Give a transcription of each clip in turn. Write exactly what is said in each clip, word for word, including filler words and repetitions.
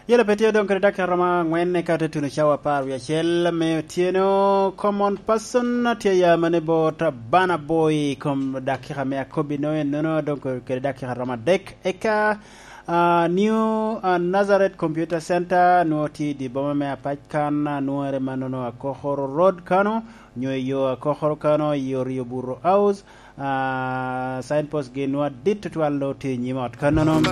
Yela pe tye odong kede dakika romo angwen eka te tuno cawa apar wie acel me otyeno. Common person tye ya mane bot Bana Boy kom dakika me akobbi no enono, odong kede dakika romo adek. Eka, ah, New, ah, Nazareth Computer Center nwo tye i di boma me Apac kan, ah, nwere manono Akokoro Road kano, nyo i yo Akokoro kano, i yo Rio Burro House. Ah, signpost gi nwa dit tutwal no tye i nyim ot kanono.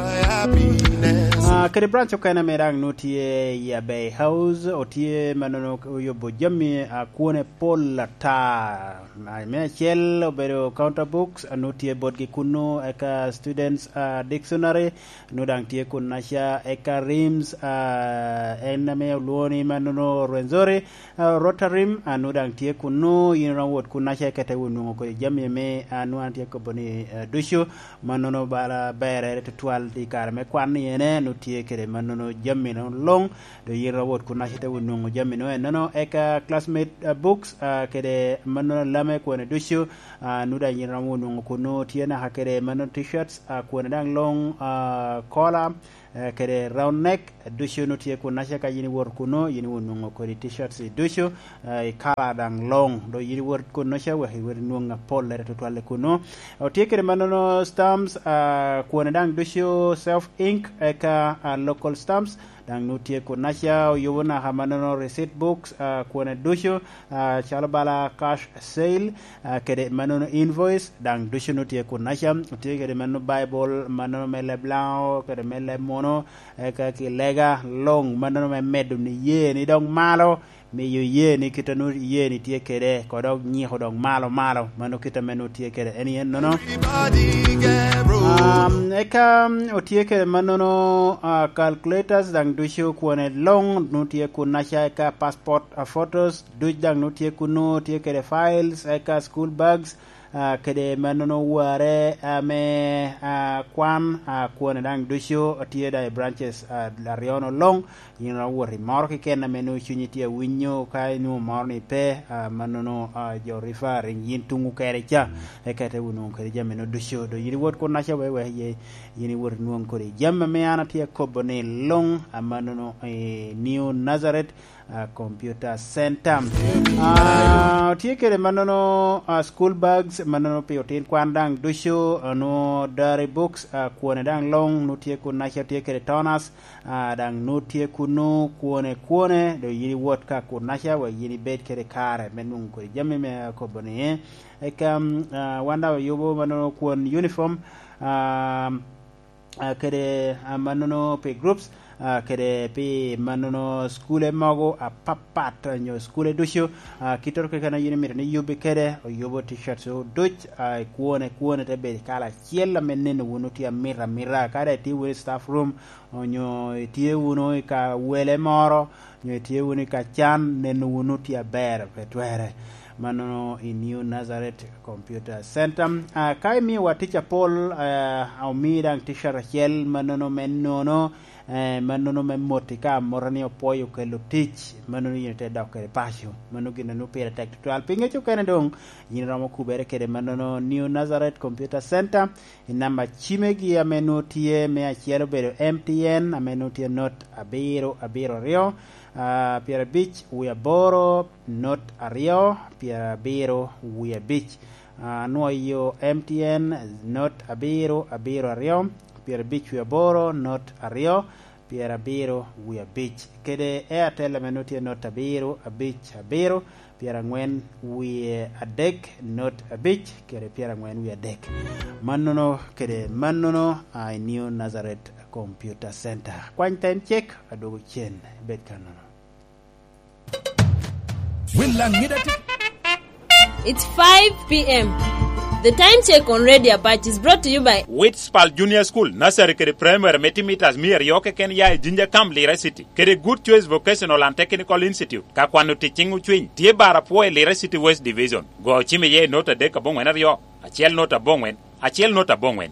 Ah, kede branch okene me daŋ nu tye i Abey House, otye manono oyubo jami, ah, kwone pol ata. Ah, me acel obedo counter books, ah, nu tye botgi kunnu, eka students, ah, dictionary, nu daŋ tye kunnaca, eka rims, ah, en ame olwongo ni manono Rwenzori, ah, Rotarim, ah, nu daŋ tye kunnu, yin iromo wot kunnaca eka te wot nwoŋo kodi jami ame, ah, nu an tye kobo ni, ah, ducu, mannono bala berere tutwal i kare me kwan ni ene, nu tye kede mannono jami no luŋ, do yin iromo wot kunnaca te wot nwoŋo jami no enono, eka classmate, ah, books, ah, kede mannono lame kwone ducu, ah, nu daŋ yin iromo wot nwoŋo kunnu, tye naka kede mannono t-shirts, ah, kwone daŋ luŋ, ah, kola, eh, kede round neck, ducu nu tye kunnaca ka yin iwoto kunnu, yin iwot nwoŋo kodi t-shirts i ducu, eh, i kala daŋ long. Do yin iwot kunnu ca wek iwot inwoŋ apollere tutwal i kunnu. Otye kede mannono stamps, ah, kwone daŋ ducu self ink, eka, ah, local stamps, daŋ nu tye kunnaca, oyubo naka mannono receipt books, ah, kwone ducu, ah, calo bala cash sale, ah, kede manono invoice, daŋ ducu nu tye kunnaca, otye kede manono Baibul, manono me leb Laŋo, kede me leb Muno, eka ki lega luŋ, manono me medo ni ye ni dok malo, miyo ye ni kit a nu ye ni tye kede, ko dok nyiko dok malo malo, mano kit ame nu tye kede en yen nono. Um, eka, um, otye kede manono, ah, calculators, daŋ ducu kwone luŋ, nu tye kunnaca, eka passport, ah, photos, duc daŋ nu tye kunnu, tye kede files, eka school bags, ah, kede manono ware ame, ah, kwan, ah, kwone daŋ ducu tye daŋ i branches, ah, aryo no luŋ. Yin iromo wot i moro keken ame nwoŋo cunyi tye awinyo, ka inwoŋo moro ni pe, ah, manono, ah, jo referring yin tuŋu kede ca, eka ite wot nwoŋo kede jami no ducu. Do yin iwot kunnaca wek, wek ye, yin iwot inwoŋ kodi jami ame an atye akobo ni luŋ, ah, manono i New Nazareth, ah, Computer Center. Ah, tye kede manono, ah, school bags, manono pi otin kwan daŋ ducu, ah, nwoŋo diary books, ah, kwone daŋ luŋ, nu tye kunnaca tye kede toners, ah, daŋ nu tye kunnu kwone kwone, do yin iwot ka kunnaca wek yin ibed kede kare me nwoŋo kodi jami me akobo ni. Eka, mm, ah, wan daŋ oyubo manono kwon uniform, ah, ah, kede, ah, manono pi groups, ah, kede pi manono skule mogo apapat, ah, nyo skule ducu, ah, kittoro keken a yin imito ni yubbi kede, oyubo t-shirts duc, ah, i kwone kwone te bedo i kala acel ame neno wunu tye amita amita. Ka daŋ itye wunu i staff room, onyo itye wunu i ka wele moro, onyo itye wunu i ka can, neno wunu tye aber, pe twerre. Manono i New Nazareth Computer Center. Ah, ka imiyowa tic apol, ah, omi daŋ t-shirt acel, manono me nono, eh, manono me moti ka amota ni opwoyo kelo tic, manono yin ite dok kede paco. Mano gin a nwoŋo pire tek tutwal. Pi ŋec okene doŋ, yin iromo kubere kede manono New Nazareth Computer Center. I namba cimegi ame nwoŋo tye, me acel obedo M T N, ame nwoŋo tye not abiro abiro aryo, ah, pyerabic wie aboro, not aryo, pyerabiro wie abic. Ah, nwoŋo yo M T N, not abiro abiro aryo, pyerabic wie aboro, not aryo, pyerabiro wie abic. Kede Airtel ame nwoŋo tye not abiro abic abiro, pyerangwen wie adek, not abic, kede pyerangwen wie adek. Mannono kede mannono, ah, i New Nazareth Computer Center. Kwany time check, adwogo cen. Bed kannono. Will Langida T V. It's five p m. The time check on Radio Apache is brought to you by Witspal Junior School, Nursery kede Primary me timitas mia aryo keken ya i Jinja Camp, Lira City, kede Good Choice Vocational and Technical Institute. Ka kwano tic cing ocwiny, tye bar apwo i Lira City West Division. Go ocim iye i not adek aboŋwen aryo, acel not aboŋwen, acel not aboŋwen.